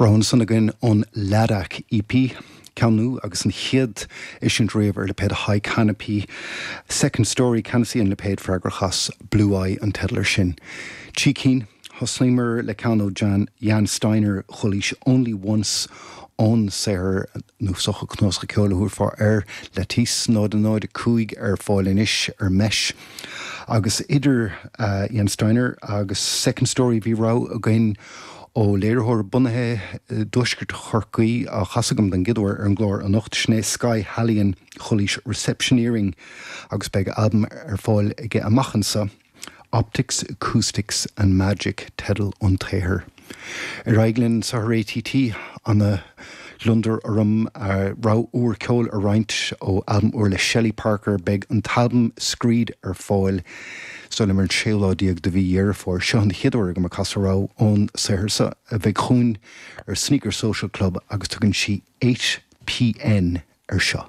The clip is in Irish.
Rogha ansan againn ón Ladakh EP, ceann nua agus an chéad eisiúint riamh ar lipéad High Canopy. Second Story Canopy an lipéad freagrach as, Blue Eye an teideal ar sin. Trí cinn. Thosnaíomar le ceann ó Jan, Jan Steiner, Chulaois, Only Once ón saothar nó is dócha cnuasach ceoil a thabharfá air, Lattice 0 0 5 ar fáil anois ar Mesh. Agus idir Jan Steiner agus Second Story bhí rogha againn ó léiritheoir bunaithe i dtuaisceart Chorcaí á chasadh agam don gcéad uair ar an gclár anocht, sin é Sky Hallion Chulaois Receptioneering agus beidh albam ar fáil aige amach anso. Optics, Acoustics and Magic teideal an tsaothair. Ar aghaidh linn anseo ar ATT, ana ghliondar orm rogha úr ceoil a roinnt ó albam úr le Shelley Parker. Beidh an t-albam Screed ar fáil is dóigh liom ar an séú lá déag de mhí Dheireadh Fómhair. Seo an chéad uair agam ag casadh rogha ón saothar seo a bheidh chugainn ar Sneaker Social Club agus tugann sí 8PN air seo.